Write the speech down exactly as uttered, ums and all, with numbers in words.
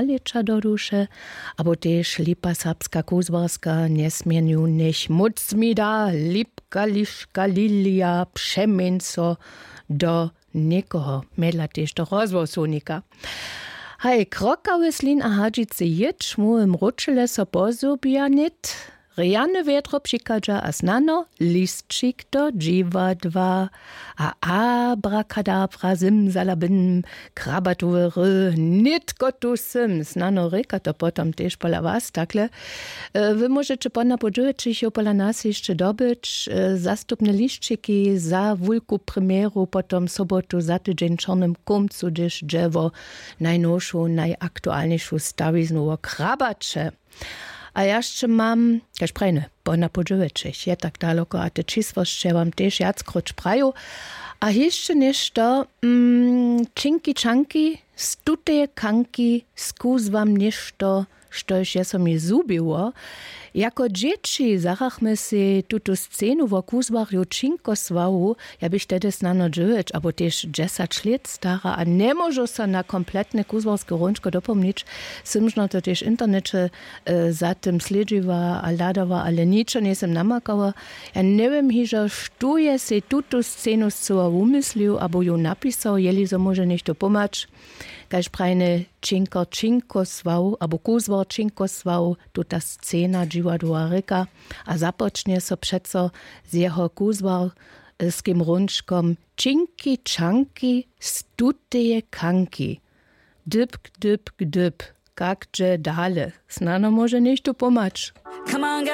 Lěća do duše, abo tež lipa serbska kuzłarska njesměnju njech móc mi da, lipka liška lilija přeměń so do někoho, mjedla tež do rozhłosownika. Haj, krokawy slin a hadźicy jětš mu w mróčele so pozhubja nět. Rjane wjetro přichadźa a snano lisćik do dźiwadła. A abrakadabra, zymzalabym, krabatowy ry, nětko tu sym, snano rěka to potom tež pola was takle. Wy móžeće ponapodźełećich jo pola nas hišće dobyć, zastupne lisćiki za wulku premjeru potom sobotu za tydźeń w čornym kómcu hdyž dźe wo najnowšu najaktualnišu stawiznu wo krabaće. A ja sće mam, kaž prajne, ponapodźełećich je tak daloko a te čisłosće wam tež wjackróć praju. A hišće něšto, mm, činki čanki z tuteje kanki skuz wam něšto, štož je so mi zhubiło. Jako dźěći zarachmy sej tutu scenu wo kuzłarju činkosławu. Ja bych tehdy snano dźewjeć abo tež dźesać lět stara a njemóžu so na kompletne kuzłarske hrónčko dopomnić. Sym žno to tež w interneće za tym slědźiła a hladała ale ničo njejsym namakała. Ja njewěm hižo štó je sej tutu scenu scyła wumyslił abo ju napisał jeli zo móže něchtó pomhać. Kaž prajne, činkor činkosław abo kuzłar činkosław, tuta scena dźiwadła rěka. A započnje so přeco z jeho kuzłarskim hrónčkom činki čanki z tuteje kanki. Dypk dypk dyp. Kak dźe dale? Snano móže něchtó pomhać. Come on, get